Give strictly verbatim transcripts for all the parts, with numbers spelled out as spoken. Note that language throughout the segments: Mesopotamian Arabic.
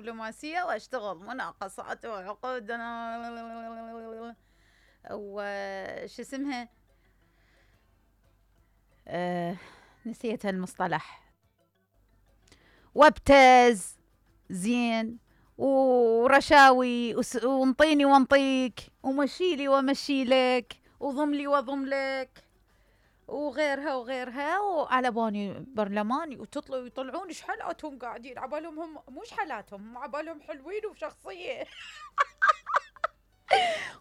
دبلوماسية واشتغل مناقصات وعقود وش اسمها أه نسيت المصطلح، وابتز زين ورشاوي وانطيني وانطيك ومشيلي ومشيلك وضملي وضملك وغيرها وغيرها، وعلى بالي برلماني وتطلعوا ويطلعون ايش حالاتهم قاعدين عبالهم هم مش حالاتهم عبالهم حلوين وشخصية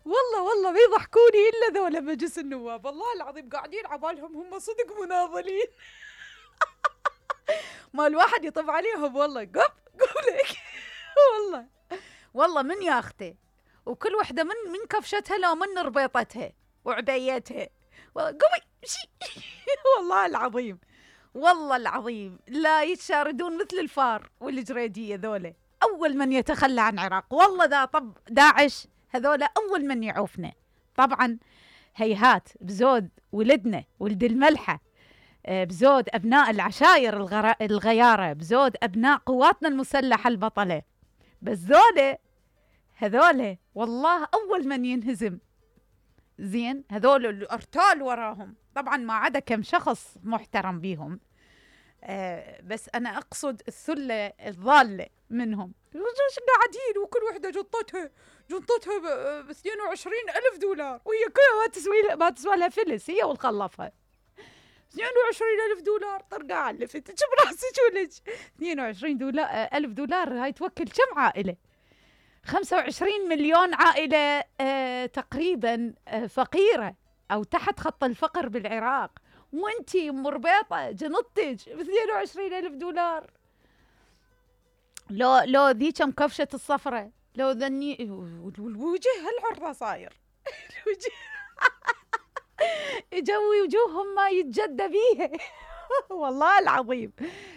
والله والله ما يضحكوني الا ذولا مجلس النواب، والله العظيم قاعدين عبالهم هم صدق مناضلين ما الواحد يطب عليهم والله قب قولك والله والله من ياخته وكل وحده من من كفشتها لو من ربيطتها وعبيتها قومي شي والله العظيم والله العظيم لا يتشاردون مثل الفار والجريدية ذولا أول من يتخلى عن العراق، والله ذا طب داعش هذولا أول من يعوفنا. طبعا هيهات بزود ولدنا ولد الملحة، بزود أبناء العشائر الغيارة، بزود أبناء قواتنا المسلحة البطلة، بس ذولا هذولا والله أول من ينهزم. زين هذول الأرتال وراهم، طبعا ما عدا كم شخص محترم بيهم، آه بس أنا أقصد الثلة الضالة منهم قاعدين وكل وحدة جنطتها جنطتها ب اثنين وعشرين ألف دولار وهي كلها ما تسوي ما تسوى لها فلس، هي والخلفها اثنين وعشرين ألف دولار طرقة علفت شو براسك ولج اثنين وعشرين دولار ألف دولار هاي توكل كم عائلة؟ خمسة وعشرين مليون عائلة آه تقريبا آه فقيرة أو تحت خط الفقر بالعراق، وانتي مربيطة جنطتك ب اثنين وعشرين ألف دولار. لو لو ذي كم كفشة الصفرة لو ذني الوجه هالعرضة صاير الوجه يجوي وجوههم ما يتجدى بيها والله العظيم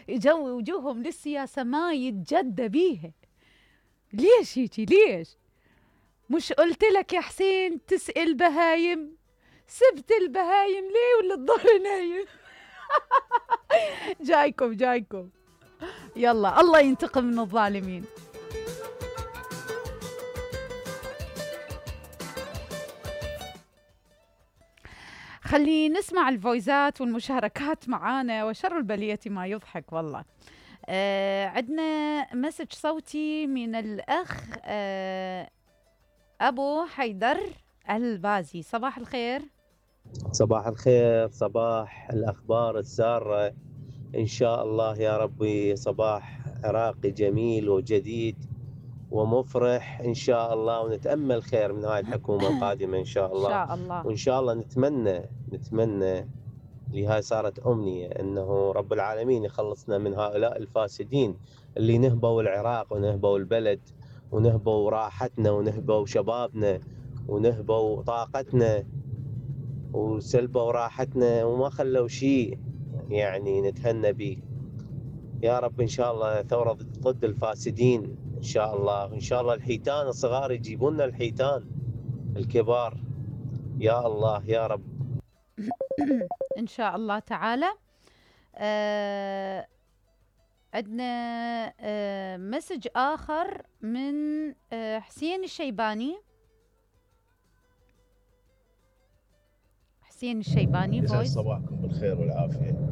يجوي وجوههم للسياسة ما يتجدى بيها. ليش هيجي ليش؟ مش قلت لك يا حسين تسأل بهايم؟ سبت البهايم ليه ولا الظهر نايم؟ جايكم جايكم يلا الله ينتقم من الظالمين. خلي نسمع الفويزات والمشاركات معانا، وشر البلية ما يضحك والله. آه عندنا مسج صوتي من الأخ آه أبو حيدر البازي. صباح الخير. صباح الخير، صباح الأخبار السارة إن شاء الله يا ربي، صباح عراقي جميل وجديد ومفرح إن شاء الله، ونتأمل خير من هاي الحكومة القادمة إن شاء الله. إن شاء الله وإن شاء الله نتمنى نتمنى لهاي صارت أمنية أنه رب العالمين يخلصنا من هؤلاء الفاسدين اللي نهبوا العراق ونهبوا البلد ونهبوا راحتنا ونهبوا شبابنا ونهبوا طاقتنا وسلبوا راحتنا وما خلوا شيء يعني نتهنى به. يا رب إن شاء الله ثورة ضد الفاسدين إن شاء الله، وإن شاء الله الحيتان الصغار يجيبون لنا الحيتان الكبار يا الله يا رب إن شاء الله تعالى. آه عندنا آه مسج آخر من آه حسين الشيباني. حسين الشيباني يسعد فويس. صباحكم بالخير والعافية.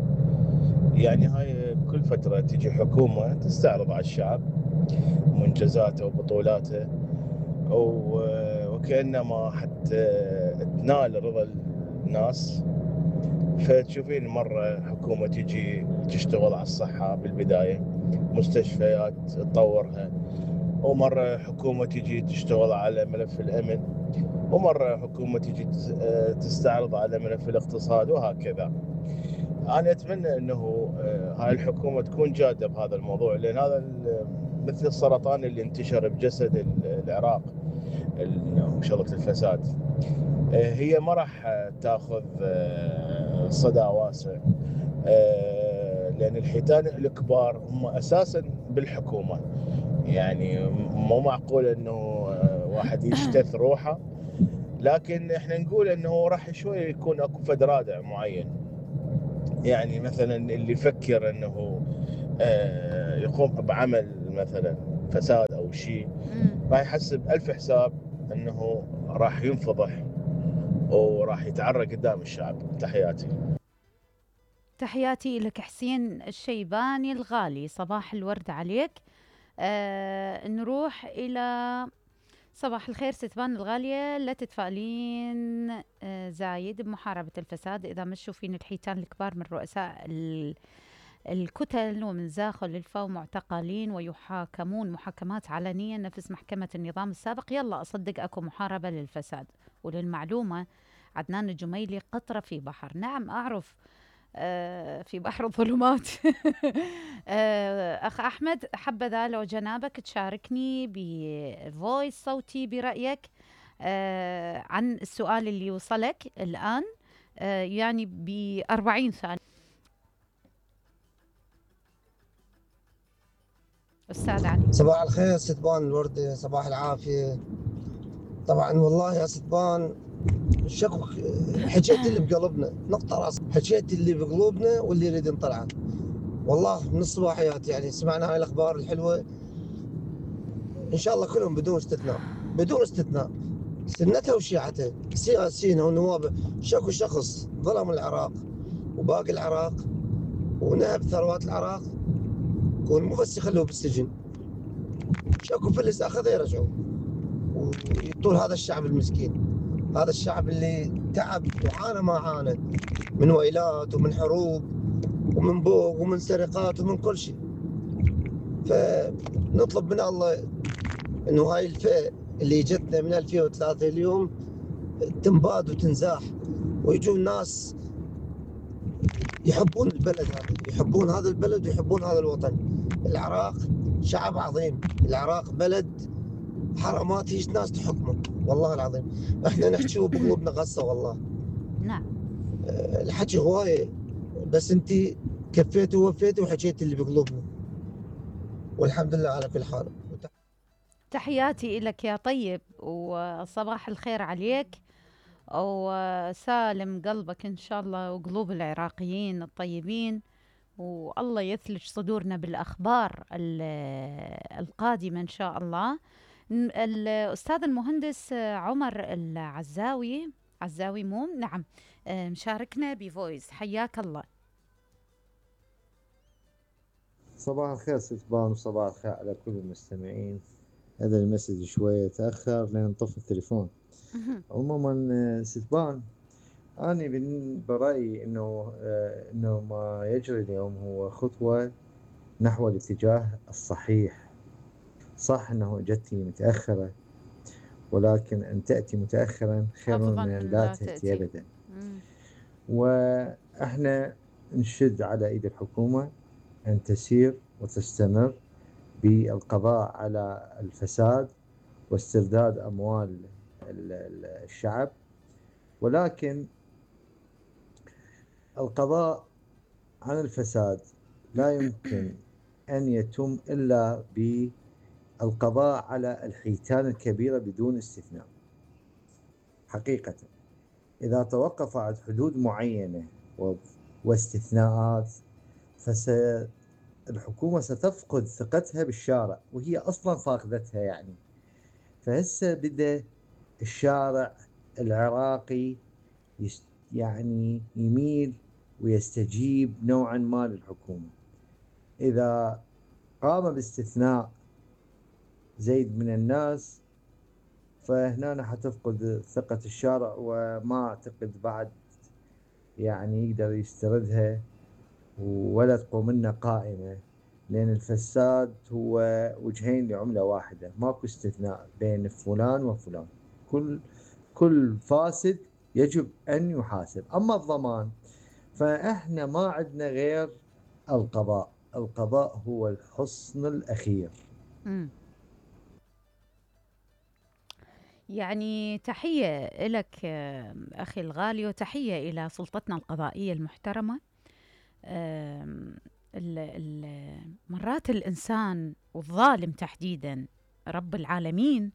يعني هاي بكل فترة تجي حكومة تستعرض على الشعب منجزاته وبطولاته وكأنما حتى تنال رضا الناس. فتشوفين مرة حكومة تجي تشتغل على الصحة بالبداية، مستشفيات تطورها، ومرة حكومة تجي تشتغل على ملف الأمن، ومرة حكومة تجي تستعرض على ملف الاقتصاد، وهكذا. أنا أتمنى أنه هاي الحكومة تكون جادة بهذا الموضوع، لأن هذا مثل السرطان اللي انتشر بجسد العراق، مشظة الفساد. هي ما راح تاخذ صدى واسع، لأن الحيتان الكبار هم أساسا بالحكومة. يعني مو معقول أنه واحد يشتث روحه، لكن احنا نقول أنه راح شوي يكون أكو فد رادع معين. يعني مثلا اللي يفكر أنه يقوم بعمل مثلا فساد او شيء، راح يحسب ألف حساب انه راح ينفضح وراح يتعرى قدام الشعب. تحياتي. تحياتي لك حسين الشيباني الغالي، صباح الورد عليك. آه نروح إلى صباح الخير ستبان الغالية، لا تتفائلين آه زايد بمحاربة الفساد إذا مشوا فين الحيتان الكبار من رؤساء الكتل ومن زاخل الفو معتقلين ويحاكمون محاكمات علنية نفس محكمة النظام السابق. يلا أصدق أكو محاربة للفساد. وللمعلومة عدنان الجميلي قطرة في بحر. نعم أعرف، آه في بحر الظلمات. آه أخ أحمد، حبذا لو جنابك تشاركني بفويس صوتي برأيك آه عن السؤال اللي وصلك الآن، آه يعني بأربعين ثانية. أستاذ علي. صباح الخير ستبان الوردة، صباح العافية. طبعا والله يا ستبان الشكو حكيت اللي بقلبنا، نقطة راس حكيت اللي بقلوبنا واللي يريد نطلعه. والله من الصباحيات يعني سمعنا هاي الأخبار الحلوة، إن شاء الله كلهم بدون استثناء بدون استثناء سنتها وشيعتها سياسيين ونواب شكو شخص ظلم العراق وباقي العراق ونهب ثروات العراق، مو بس يخلوه بالسجن، شكو فلس اخذ يرجعوا ويطول هذا الشعب المسكين، هذا الشعب اللي تعب وعانى ما عانى من ويلات ومن حروب ومن بوق ومن سرقات ومن كل شيء. فنطلب من الله انه هاي الفئة اللي جتنا من ألفين وثلاثة اليوم تنباد وتنزاح، ويجون ناس يحبون البلد هذا، يحبون هذا البلد ويحبون هذا الوطن. العراق شعب عظيم، العراق بلد حرامات هيش ناس تحكمه، والله العظيم احنا نحكي وبقلوبنا غصه والله. نعم. أه الحكي هوايه، بس انت كفيتي ووفيتي وحكيتي اللي بقلوبنا، والحمد لله على كل حال. تحياتي لك يا طيب، وصباح الخير عليك، وسالم قلبك إن شاء الله وقلوب العراقيين الطيبين، والله يثلج صدورنا بالأخبار القادمة إن شاء الله. الأستاذ المهندس عمر العزاوي عزاوي مو نعم مشاركنا بفويس، حياك الله. صباح الخير ستبان وصباح الخير على كل المستمعين. هذا المسج شوية تأخر لأن طفى التليفون. عموما ستبان أنا برأيي إنه إنه ما يجري اليوم هو خطوة نحو الاتجاه الصحيح. صح إنه جتي متأخرة، ولكن أن تأتي متأخرا خير من أن لا تأتي أبدا. وإحنا نشد على إيد الحكومة أن تسير وتستمر بالقضاء على الفساد واسترداد أموال الشعب، ولكن القضاء عن الفساد لا يمكن أن يتم إلا بالقضاء على الحيتان الكبيرة بدون استثناء. حقيقة إذا توقف عن حدود معينة واستثناءات فالحكومة ستفقد ثقتها بالشارع، وهي أصلا فاقدتها يعني. فهسه بدأ الشارع العراقي يعني يميل ويستجيب نوعا ما للحكومة. إذا قام باستثناء زيد من الناس فهنا حتفقد ثقة الشارع، وما أعتقد بعد يعني يقدر يستردها ولا تقوم لنا قائمة، لأن الفساد هو وجهين لعملة واحدة، ماكو استثناء بين فلان وفلان، كل كل فاسد يجب أن يحاسب. أما الضمان فإحنا ما عندنا غير القضاء، القضاء هو الحصن الأخير. م. يعني تحية لك أخي الغالي، وتحية إلى سلطتنا القضائية المحترمة. مرات الإنسان والظالم تحديدا رب العالمين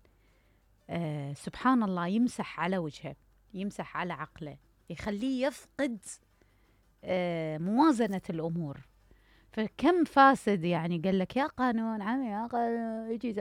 آه سبحان الله يمسح على وجهه، يمسح على عقله، يخليه يفقد آه موازنة الأمور. فكم فاسد يعني قال لك يا قانون عمي يا قانون يجي